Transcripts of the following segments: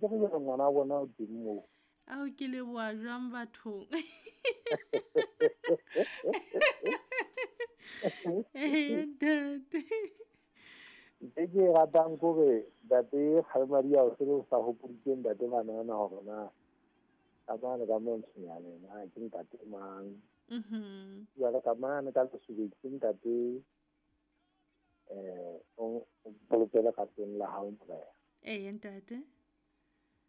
Ke re jwale ngwana bona o teng moo. Ao ke leboa jwang bathong. Ee ntate. Ntho e ke e ratang ke hore ntate Kgalemadi o se o sa hopoditse ntate Manana hore na ka mane ka mo Ntshunyane na ke ntate mang. Jwale ka mane ka Lesobeng ke ntate o bolokele ratong la hao morena. Ee ntate.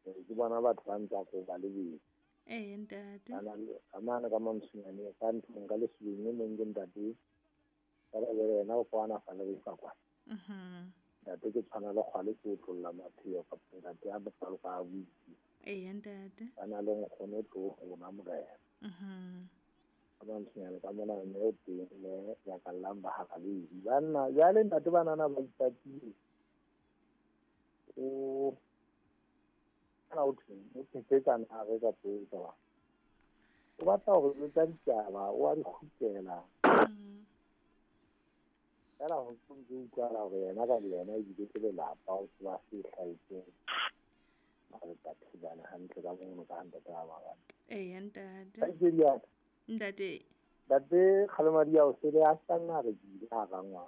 Ke bona batho ba ntse ko ba lebedi. Ee ntate. Ka mane ka mo Ntshunyane ka ntlong ka Lesobeng e mong ke ntate ka le yena o kwana fa le fa kwa. Ntate ke tshwana le kgwale ke otlolla mapheo kapa ntate a bopalo ka buitse. Ee ntate. Ba na le nkgono tlo rona morena. Ka mo Ntshunyane ka mona mme o teng mme ya ka llang ba harabedi. Banna jwale ntate banana ba ipatile. O kana o thweng o phepetsana ha re ka potsa ba. O batla hore re tsa ditaba o a di kgutlela. Fela ho ntse utlwala hore yena ka yena ebile ke lelapa o tseba se hlahetseng. Ba re tla thibana hantle ka mono ka ntate ba bang. Ee ntate. Ntate. Ntate Kgalemadi o se le a sanna re bile ha rangwa.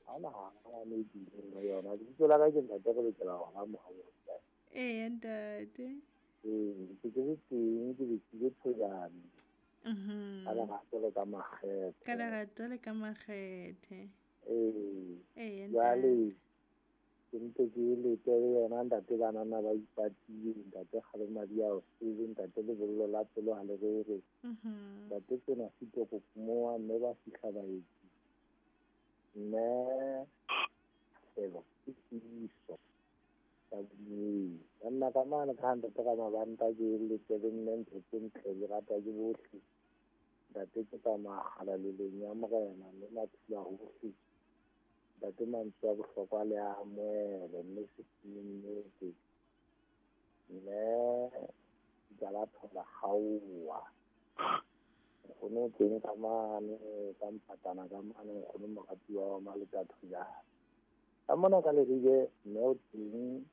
Ha ona ha ne bile le yona. Lebitso la ka ke ntate re lokela ho ba mohau. Ee ntate. Ee, ke ke teng ke le thojane. Ka lerato le ka makgethe. Ka lerato le ka makgethe. Ee. Ee ntate. Jwale ke ntse ke lete le yena ntate banana ba ipatile, ntate Kgalemadi o sele, ntate lebollo la pelo ha le rere. Ntate tsena sito kokumoa mme ba fihla baetsi. Mme selo ke tiiso. Banna ka mane ka ntate ka mabanta ke lete le nne ntho tse ntle di ratwa ke bohle. Ntate ke tsamaya kgalalelong ya morena mme mathula hohle. Ntate mantswe a bohlokwa le a amohele mme se nnete. Mme jala thola kgaowa. Nkgono o teng ka mane ka mpatana ka mane nkgono moratuwa wa Maletathojana. Ka mona ka Leribe mme o teng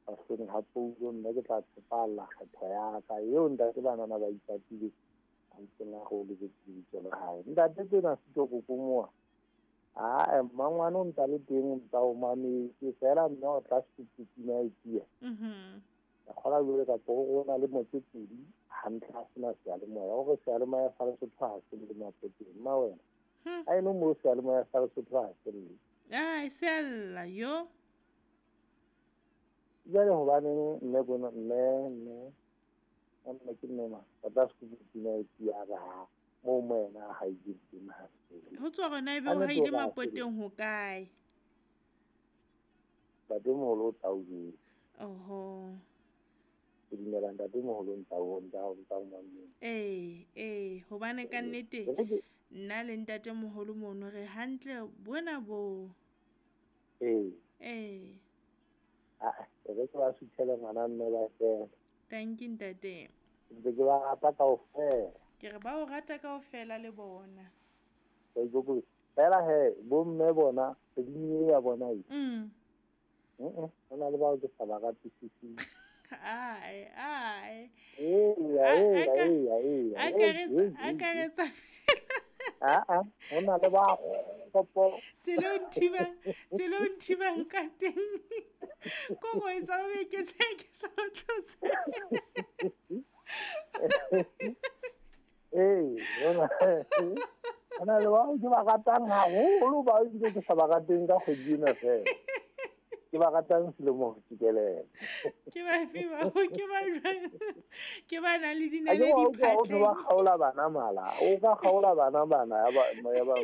bahleng ha poulo mme ke tla tshepalla kgetho ya ka eo ntate banana ba ipatile a ntseng a go lebetse lebitso la hae. Ntate tsena sito kokomoa. Ah, mmangwane o ntsa le teng o ntsa o mametse fela mme o tla setutsina e tia. Ka kgola jwale ka go na le motse pedi hantle a sena seyalemoya o re seyalemoya sa Lesotho ha se le mapoteng mma wena. Ha eno mo seyalemoya sa Lesotho ha se le. Ai se alla yo. Jwale hobaneng mme bona mme mme ke mme ma ba tla setutsina e tia ra mo moena ha e teng ha se. Ho tswa rona ebe o haile mapoteng ho kae? Ntatemoholo o tla o jwetsa. Oho. Ke dumela ntatemoholo ntsa o ntsa o mametse. Ee, hobane ka nnete nna le ntatemoholo mono re hantle bona bo. Ee. Ee. Ah, re ke ba suthele ngwana mme ba fela. Thank you ntate. Ntse ke ba rata kaofela. Ke re ba o rata kaofela le bona. Fela he bo mme bona kgweding e ya bona e. Ho na le bao ke sa ba ratisising. Ai ai. Eya. Akaretsa. Ah, ho na le ba kgopo. Tsela o nthibang ka teng. Ko go etsa o be ke se ke sa tlotse. Ee, hona le bao ke ba ratang haholo bao ebile ke sa ba rateng ka kgwedi ena fela. Ke ba ratang selemo ho fihlelele. Ke ba fe bao ke ba jwang? Ke ba nang le dinaledi phatleng. O ba kgaola bana mala. O ka kgaola bana bana ya ba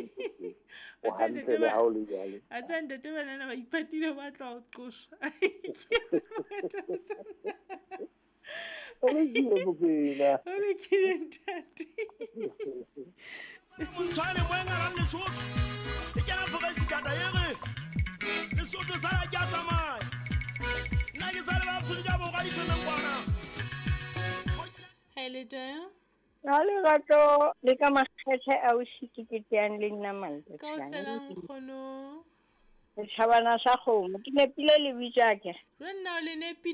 o hantle le ha o le jwalo. A tsa ntate banana ba ipatile ba tla o qosa. O lokile Mokwena. O lokile ntate. Montshwane moenga la Lesotho. E kena foresikata e re Lesotho sala ke a tsamaya. Nna ke sale ba Afrika Borwa difemeng kwana. Ha le teng? Ha lerato le ka makgethe a o shikiketeang le nna Maletotsane. Kaofela nkgono. Setšhabana sa kgomo. Ke nepile lebitso akere? Jo nna o le nepile.